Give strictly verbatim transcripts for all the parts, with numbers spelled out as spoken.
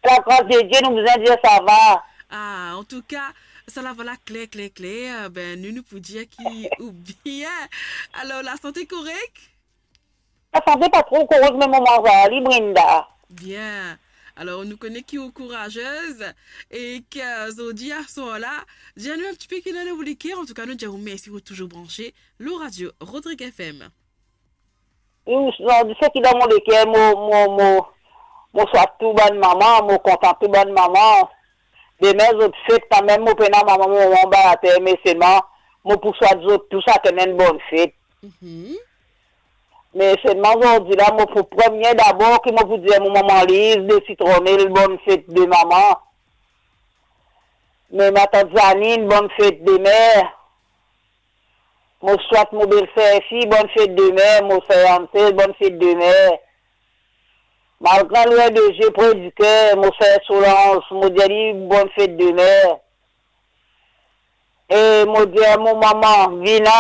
Lakras de Die, nou bizin dir sava. Ah, antouka, sa la, vwala, kler, kler, kler. Ben, nou, nou pou dir ki ou bien. Alor, lasante korek? Lasante pa tro korek, me moman sa, li Brinda. Bien. Alor, nou kone ki ou kourazez e ki, eh, zordi aswar la, dir nou enn tipe ki dan ou leker. Antouka, nou dir ou mersi pou touzour branse lor Radio Rodrigue F M. Ou, zordi, seki dan mo leker, mo, mo, mo, mo swat tou bann mama, mo kontan tou bann mama. Demin zot fet kanmem, mo pena mama, mo mama anba later, me selman mo pou swat zot tou sakenn enn bonn fet. Mhm. Me selman zordi la, mo pou premie dabor ki mo pou dir mo mama Liz de Sitronel, bonn fet de mama. Me matant Zanine, bonn fet de mer. Mo swat mo belser fi, bonn fet de mer, mo ser Ansel, bonn fet de mer. Malgre lwin de zie, pre di ker, mo ser Solange, mo dir li bonn fet de mer. E mo dir mo mama, Vina,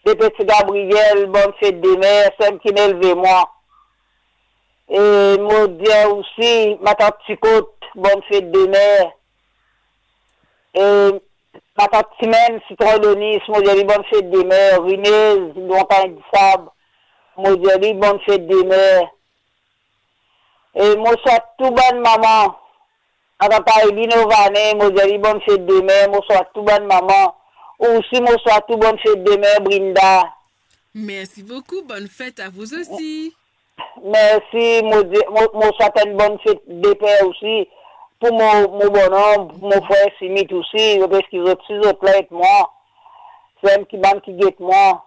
de Petit Gabriel, bonn fet de mer, sem ki elve mwa. E mo dir osi matant Tikot, bonn fet de mer. E matant Timenn, Sitron Donis, mo dir li bonn fet de mer. Rinez, Lontan Disab, mo dir li bonn fet de mer. E mo swat tou bann mama. Matant Ailine Ovane, mo dir li bonn fet de mer, mo swat tou bann mama. Ou osi, mo swat ou, bonn fet de mer, Brinda. Mersi boukou, bonn fet a vou osi. Mersi, mo di, mo, mo swat enn bonn fet de per osi, pou mo, mo bonom, pou mo frer Simit osi, zot eski zot si zot la et mwa, sem ki bann ki get mwa.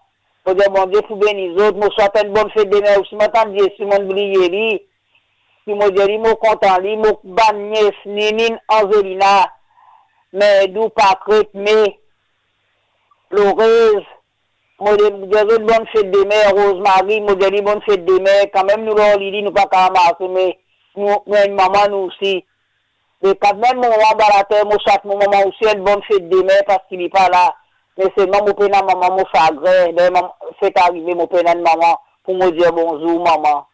Mo dir Bondie pou beni zot, mo swat enn bonn fet de mer osi, mo tann Zezi, mo bliye li, ki mo dir li, mo kontan li, mo bann nies, Ninine, Anzelina, Merdou, Pakret, Me, Lorez, mo dir zot bonn fet de mer, Rosemary, mo dir li bonn fet de mer, kanmem nou lor lili, nou pa kav marse, me nou, nou enn mama nou osi. Me kanmem mo mama anba later, mo swat mo mama osi enn bonn fet de mer, paski li pa la. Me selman mo pena mama, mo sagrin, ler mama, fet arive, mo pena enn mama pou mo dir bonzour, mama.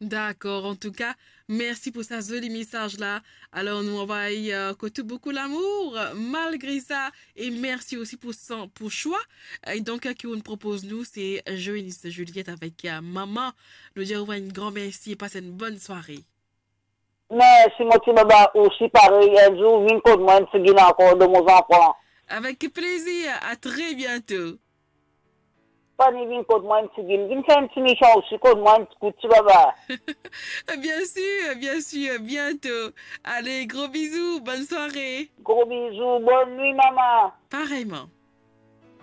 Dakor, antouka, mersi pou sa zoli mesaz la. Alor, nou anvoy, eh, kot ou boukou lamour, malgre sa, e mersi osi pou san, pou swa, eh, donk, eh, ki ou'nn propoz nou, se Joenis Juliette avek, eh, Mama. Nou dir ou enn gran mersi e pas enn bonn sware. Mersi, mo ti baba, osi parey, enn zour vinn kot mwa, enn tigit ankor de mo zanfan. Avek plezir, a tre biento. Fani vinn kot mwa enn tigit, vinn fer enn ti mision osi kot mwa enn ti kout, ti baba. Biensir, biensir, biento. Ale, gro bizou, bonn sware. Gro bizou, bonn nwi, mama. Pareyman.